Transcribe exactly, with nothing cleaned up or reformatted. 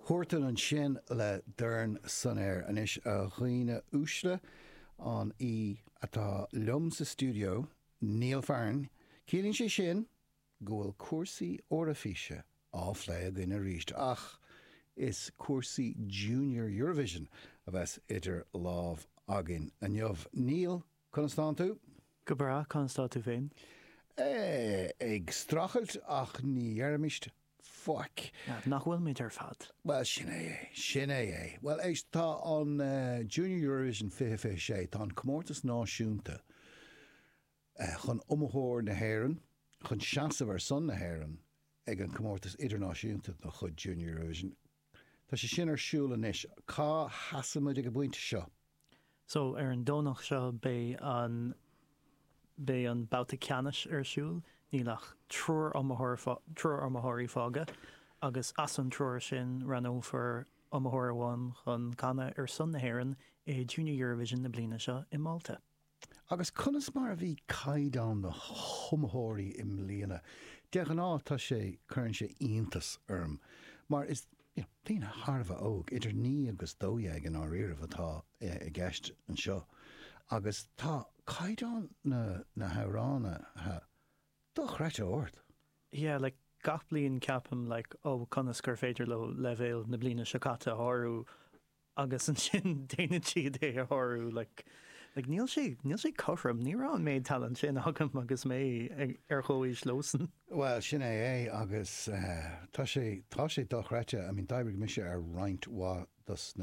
Huartan ansin le Dorn san Aer. Anois, a dhaoine uaisle, an aoi atá liom sa stiúideo, Niall Farren. Ciallaíonn sé sin go bhfuil cúrsaí Eoraifíse á phlé againn arís, ach is cúrsaí Junior Eurovision a bheas idir lámh againn inniu. Niall, conas tánn tú? Go breá, conas tá tú féin? Ag streachailt, ach ní dheirimis faic. Nach bhfuil muid ar fad? Bhuel, sin é é, sin é é. Bhuel, éist, tá an Junior Eurovision fiche fiche sé, tá an comórtas náisiúnta chun iomaitheoir na hÉireann, chun seasamh ar son na hÉireann ag an comórtas idirnáisiúnta de chuid Junior Eurovision. Tá sé sin ar siúl anois. Cá sheasaimid ag an bpointe seo? So ar an Domhnach seo beidh an beidh an babhta ceannais ar siúl, níl ach triúr iomaitheoir triúr iomaitheoirí fágtha agus as an triúr sin roghnófar iomaitheoir amháin chun canadh ar son na hÉireann i Junior Eurovision na bliana seo i Málta. Agus conas mar a bhí caighdeán na hiomaitheoirí i mbliana? De ghnáth tá sé, cuireann sé iontas orm mar is you know, daoine thar a bheith óg, idir naoi agus dó dhéag i ndáiríribh atá i gceist anseo agus tá caighdeán na na hamhránaithe dochreidte ard. Yeah, like gach bliain ceapaim like oh conas gur féidir leo leibhéal na bliana seo caite a shárú agus ansin déanann siad é a shárú like like níl sé níl sé cothrom, ní raibh an méid talent sin agam agus mé ar chomhaois leosan. Well, sin é é agus uh, tá sé tá sé dochreidte. I mean, d'oibrigh mise ar roinnt mhaith dos na